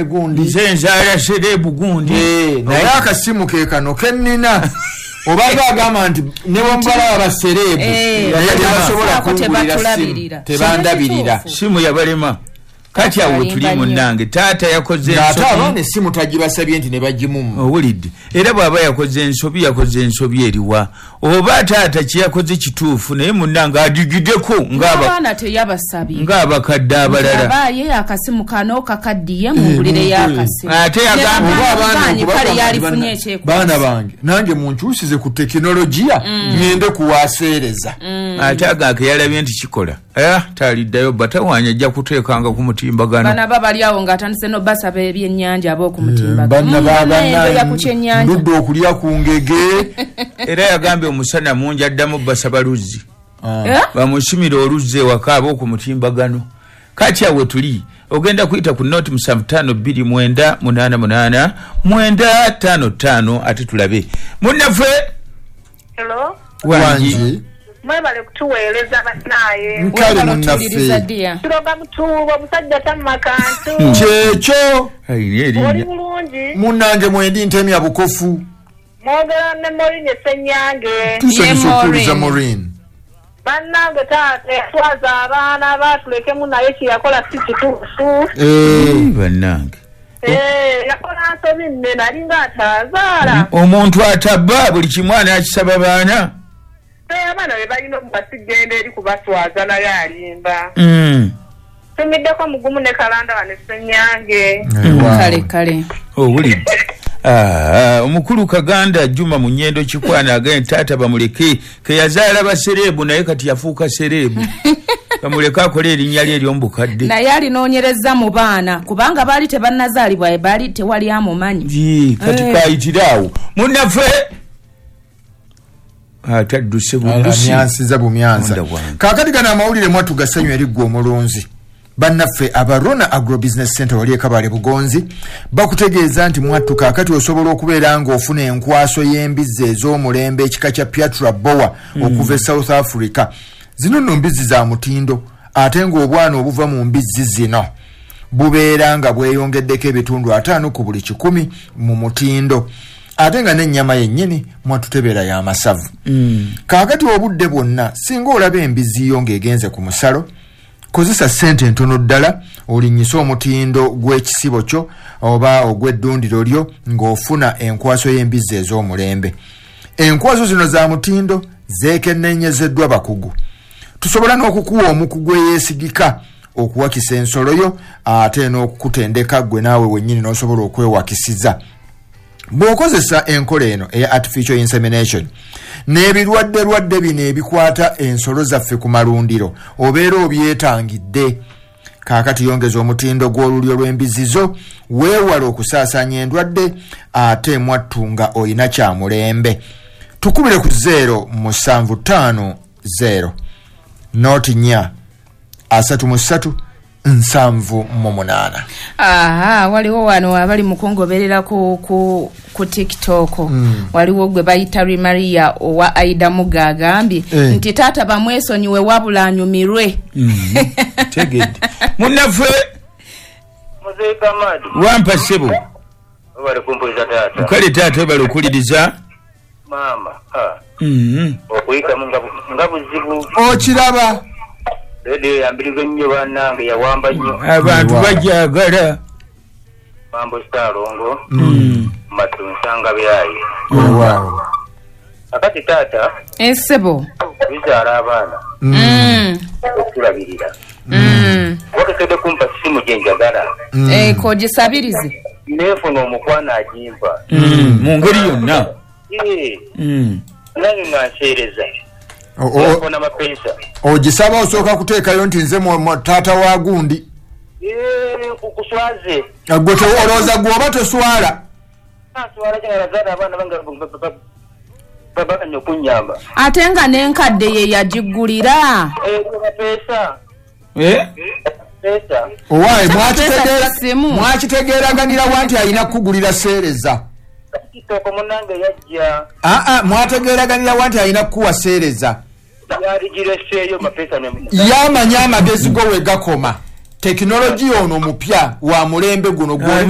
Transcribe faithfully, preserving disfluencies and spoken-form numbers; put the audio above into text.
Gundi nze nzaala celeb gundi. Eh, naye akasimu ke kano kennina obanga agamba nti ne bwembalaba ba celeb Eh, naye tebasobola Ako kungulira simu, tebatulabirira. tebandabirira. Simu yabalema. Kati awo tuli Balimba nnyo. munnange, taata yakoze Ng'ate ensobi. abaana essimu tagibasabye nti ne bagimumma. Owulidde? Era bw'aba yakoze ensobi, yakoze ensobi eriwa? Oba taata kyeyakoze kituufu, naye munnange adigideko ng'aba- Abaana teyabasabye ng'abakadde abalala. Aba ye akasimu kano kakaddiye, mungulireyo akasimu. Ate yagamba Oba abaana Gaanyi, okubagamba kale nti yalifunye banna- ekyekwasa. Baana bange, nange munkyusize ku tekinologiya, ŋŋende kuwaseereza. Ate agake yalabye nti kikola. Eh, taliddayo batawaanya, ajja kuteekanga ku mutimbagano. Bana ba bali awo ng'atandise nobasaba ebyennyanja ab'okumutimbagano. Banna Mm, bannaye ku kyennyanja. Ndudde okulya ku ngege. Era yagambye omusana mungi, addamu basaba luzzi, Eh? bamusimire oluzzi ewaka ab'oku mutimbagano. Kati awe tuli ogenda kuyita ku noti musanvu ttaano bbiri mwenda munaana munaana mwenda ttaano ttaano, ate tulabe munnaffe. Hello. Wangi. Wangi. Mwebale kutuweereza bannaaye. Nkale. Webale Munnaffe. otuwuliriza, dear. Tuloga mutuubo omusajja tamma kantu. Kyekyo. Ayina Oli erinnya. bulungi? Munnange, mwendi ntemya bukofu. Mwogera ne Morinye Ssenyange. Tusanyusa Ye okuwuliza, Maureen. Maureen. Bannange, taata yatwaza abaana, baatulekemu, naye kye yakola si kituufu. Eh, bannange. Eh, yakola nsobi nnene, alinga ataazaala. Omuntu atabba buli kimu anaakisaba baana. Eh, abaana be balina omubasigenda eri kubaswaza, naye alimba. Mm. Tumiddeko mugumu ne kalanda wano Ssenyange. Kale kale. Owulidde? Ah, omukulu Kaganda Juma Munyendo Kikwana agende, taata bamuleke, keyazaala ba celeb, naye kati yafuuka celeb, bamuleke akole erinnya lye ery'omubukadde. Naye alinoonyereza mu baana, kubanga baali tebannazaalibwa, baali tewali amumanyi. Jii, kati Eh. kayitire awo munnaffe atadduse buddusi. Amyansiza bumyansa. Munda wange. Kaakati gano amawulire mwattu gasanyu eri ggwe omulunzi. Bannaffe Abarona Agrobusiness Center wali ekabale Bugonzi bakutegeeza nti mwattu kaakati osobola okubeera ng'ofuna enkwaso y'embizzi ez'omulembe ekika kya Piatra Boer okuva e South Africa. Zino nno mbizzi za mutindo, ate ng'obwana obuva mu mbizzi zino bubeera nga bweyongeddeko ebitundu ataano ku buli kikumi mu mutindo, ate nga n'ennyama yennyini mwattu tebeera y'amasavu. Kaakati obudde bwonna singa olaba embizzi yo ng'egenze ku musalo, kozesa ssente entono ddala olinnyise omutindo gw'ekisibo kyo oba ogw'eddundiro lyo ng'ofuna enkwaso y'embizzi ez'omulembe. Enkwaso zino za mutindo, zeekenneenyezeddwa bakugu. Tusobola n'okukuwa omukugu eyeesigika okuwakisa ensolo yo, ate n'okukutendeka ggwe naawe wennyini n'osobola okwewakisiza. Bw'okozesa enkola eno eya artificial insemination, n'ebirwadde-lwadde bino ebikwata ensolo zaffe ku malundiro obeera obyetangidde. Kaakati yongeza omutindo gw'olulyo lw'embizzi zo, weewale okusaasaanya endwadde, ate mwattu nga oyina kyamulembe. Tukubire ku zero musanvu ttaano zero noti nnya asatu mu ssatu nsanvu mu munaana. Aha, waliwo wano abali mu kungoberera ku, ku, ku TikTok. mm. Waliwo gwe bayita Maria owa Aida Muga, agambye Eh. nti taata bamwesonyiwe, wabula anyumirwe. Tegedde munnaffe. Muzeeyi Kamadi. Wampa ssebo. Webale kumpuliza, taata. Kale taata, webale okuwuliriza. Maama, ha, Mhm. okuyitamu nga bu- nga buzibu. Okiraba? Rediyo yambiriza ennyo bannange, yawamba nnyo. Abantu Wow. bajagala. Mambo Saalongo Mm. Matu nsanga byayi. Weewaawo. Akati taata, Esebo. bizaala abaana Mm. okutulabirira. Mm. Wakekedde kumpa simu gye njagala, Eh, kogisabirize. neefuna omukwano agimpa. Mm. mu ngeri yonna. Eh, Mm. nange nga nseereza. O- o- ofuna mapeesa. Ogisaba osooka kuteekayo nti nze mwa- mwa- taata wa gundi. Eh, kuswaze. Gwe te- olowooza gwe oba toswala? Aswala kyanazaala abaana bange babaganya okunyamba. Ate nga n'enkadde ye yagiggulira. Mapeesa. Eh? Peesa. Owaaye. Ate mwakitegeera- mapeesa simu. Mwakitegeeraganirawa nti alina kukugulira seereza? Kitoko munange yajja. Aa, mwategeeraganirawa nti alina kukuwa seereza? Yaligireseeyo mapeesa. Yamanya amagezi go we gakoma. Tekinologiya ono mupya wa mulembe guno. Ah, Gw'oli